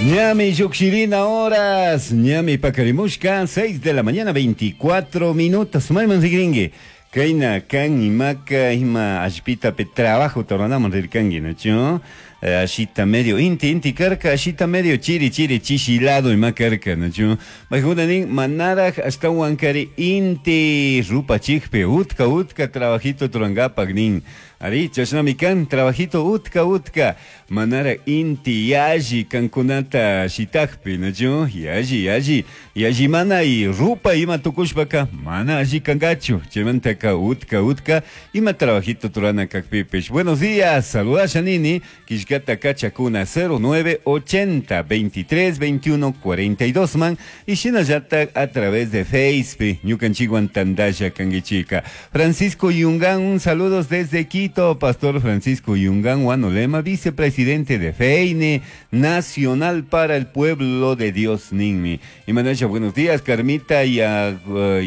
Ñami llujshirina horas, ñami pakarimushka, 6 de la mañana 24 minutos. Mayman rigringi. Kayna kan imaka ima allpitapi trabajo ruranaman rirkanki, nachu? Ashita medio inti inti karka, ashita medio chiri chiri chishilado ima karka, nachu? Maykuna nin manaraj ashtawankari inti rupachikpi utka utka trabajito rurankapak nin. Ari, chashnami kan trabajito utka utka manara inti yalli kankunata shitakpi, nachu? Yalli yalli yalli mana y rupa ima tukushpaka mana alli kankachu. Chaymantaka utka utka ima trabajito rurana kakpipish. Buenos días, saludasha nini, killkata kachakuna 0980 23 21 42 man y shinallatak a través de Facebook, ñukanchikwan tandalla kankichika. Francisco Yungán, un saludos desde Quito, Pastor Francisco Yungán Huanolema, vicepresidente de FEINE Nacional para el Pueblo de Dios, Ninmi. Y Manasha, buenos días, Carmita Yangol,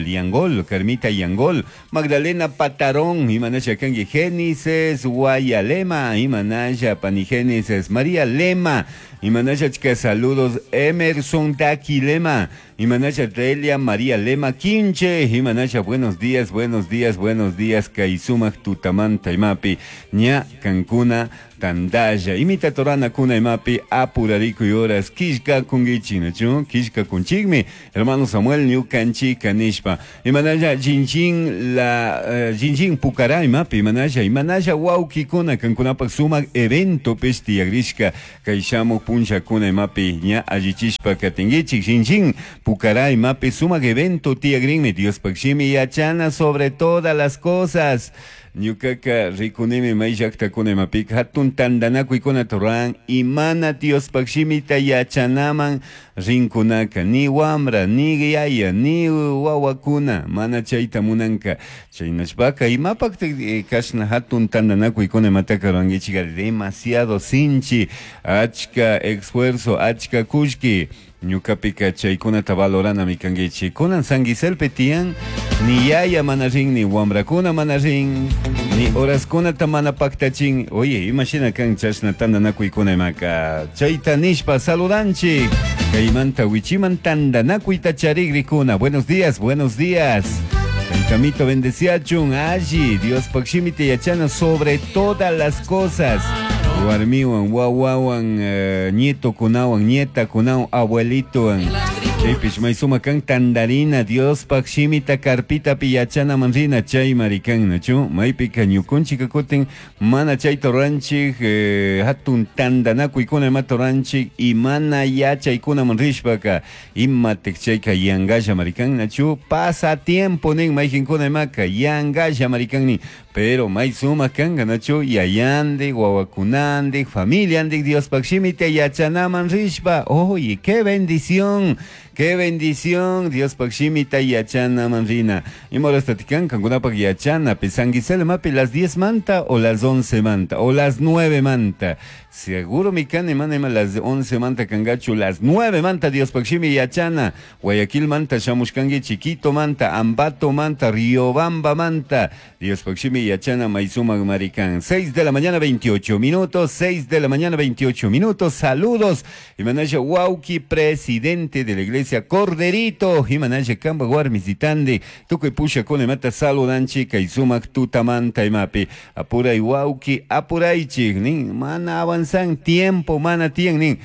Yangol, Carmita Yangol, Magdalena Patarón, y Manasha Kangi Génesis, Guayalema, y Manasha Panigénesis, María Lema, y Manasha Chica, saludos, Emerson Daki Lema, y Manasha Delia María Lema Quinche, y Manasha, buenos días, buenos días, buenos días, Kaisumak Tutamanta Imapi, Ña Cancuna Tandaya, Imita Torana Kuna Imapi, Apurarico y horas, Kishka Kungichi, ¿no? Kishka Kunchigmi, hermano Samuel Ñukanchi Kanishpa, y Manasha Jinjin la Jinjin Pucará Imapi, Manasha, y Manasha Wauki Kuna, Cancunapak Sumak evento Pesti Agrishka, Kaishamu Puncha Kuna Imapi, Ña Allichishpa Katingichi, Jinjin Pucará Imapi, Sumak evento Tiagrinmi, Dios Pakshimi Yachana sobre todas las cosas. Ñukaka rikunimi may llaqtakuna imapika hatun tantanakuykuna ruran imana Diospaq shimita yachanaman rinkunaka ni wamra ni yaya ni wawakuna mana chayta munanka chaynashpaka imapaqtak kashna hatun tantanakuykuna imataka rurankichika demasiado sinchi achka esfuerzo achka kullki ñukapika chaykunata valoranami kankichik kunan San Giselpi tiyan ni yaya mana rin ni wamrakuna mana rin ni horaskunata mana paktachin. Oye, imashina kan chashna tantanakuykuna imaka chayta nishpa saludanchik kaymanta wichiman tantanakuyta charikrikuna. Buenos días, buenos días. Camito bendeciachun, alli, Dios pakshimita yachana sobre todas las cosas. Warmiwan, wawawan, nieto kunawan, nieta kunawan, abuelitowan. Chaypish maysuma kan tandarina, Dios pakshimita karpitapi yachana manrina, chay marikan, nachu? Maypika ñukunchika kutin, mana chayta ruranchik, hatun tantanakuykuna imata ruranchik, y mana yachaykuna manrishpaka, imatik chayka yangalla marikan, nachu? Pasa tiempo nin mayjinkuna imaka, yangalla marikan nin. Pero may suma kanka, nachu? Yayandi, wawakunandi, familiandi, Dios pakshimita yachanaman rishpa. Oye, qué bendición. Qué bendición, Dios pakshimita yachana manrina. Y morastatikan, kankunapak yachana, pisanguisel mapi las 10 manta o las 11 manta o las 9 manta. Seguro mi can ima las 11 manta kangachu, las 9 manta Dios pakshimi yachana. Guayaquil manta, Shamushkangi, Chiquito manta, Ambato manta, Riobamba manta. Dios pakshimi yachana maizuma maricán. 6 de la mañana 28 minutos, 6 de la mañana 28 minutos. Saludos. Y manasha Wauki, presidente de la iglesia Corderito, Jimanaya Kamba Guarmisitandi, Tukuy Pusha Kunemata saludanchi, Kaisumak Tutamanta Imapi, Apuray Wauki, Apuraychik, nin, mana avanzan tiempo, mana tien, nin,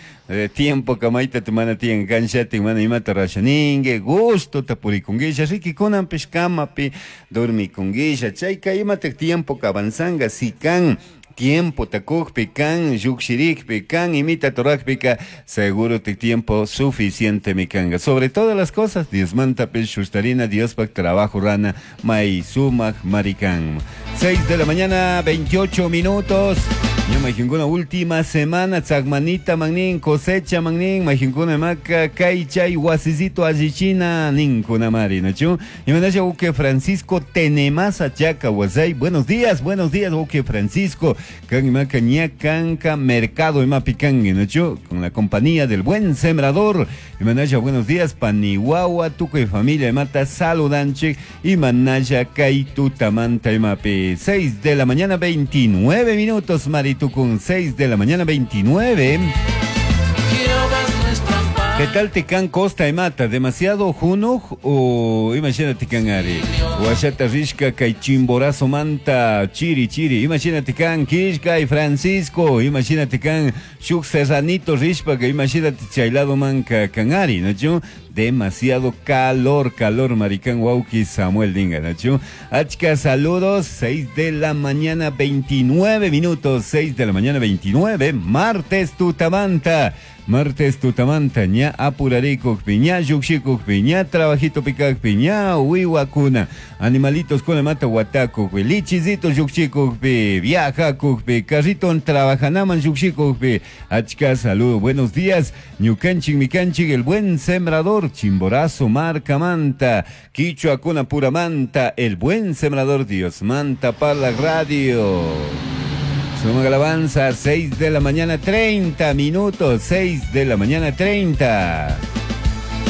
tiempo kamaita tu mana tien, kanchati, mana imata rashaningue, gusto tapurikunguisha, riki kunanpish kamapi, dormikunguisha, chayka imata tiempo ka avanzanga, si kan, tiempo takukpi kan, yukshirikpi kan, imita torakpika, seguro te tiempo suficiente mi kanga. Sobre todas las cosas, Dios manta shustarina, Dios pak trabajo rana, maisumak marikan. 6 de la mañana, 28 minutos. Ya majinkuna última semana, tzakmanita magnin, cosecha magnin, majinkuna maka, kai chay, wasisito allichina, ninkuna mari, nachu. Y manasha uke Francisco Tenemasa Chaca Wasay. Buenos días, uke Francisco. Kan maka ña kanka mercado imapikangue, nachu, con la compañía del buen sembrador. Y manasha buenos días, panihuahua, tuco y familia, mata saludanche, y manasha kaitu tamanta imapi. 6 de la mañana, 29 minutos, Maritu. Con 6 de la mañana 29. Jehová es nuestro amparo. ¿Qué tal te costa y mata? ¿Demasiado junuj o imagínate can ari? Guachata rishka kay chimborazo manta chiri chiri. Imagínate can Kishka y Francisco. Imagínate can shuk serranito rishpa que imagínate chaylado manca canari, ¿no? Demasiado calor, calor, maricán wauki Samuel Dinga, ¿no? Achka, saludos, 6 de la mañana, 29 minutos, 6 de la mañana, 29, martes tutamanta. Martes tutamanta, ña apurarikukpi, ña llukshikukpi, ña trabajito pikakpi, ña wiwakuna, animalitos con mata watakukpi, lichizito llukshikukpi, viajakukpi, carrito trabajanaman llukshikukpi. Achka, saludo, buenos días, ñukanchik, mikanchik, el buen sembrador, Chimborazo, marca manta, Quichua kuna pura manta, el buen sembrador, Dios manta para la radio. Suma alabanza, 6 de la mañana 30 minutos, 6 de la mañana 30.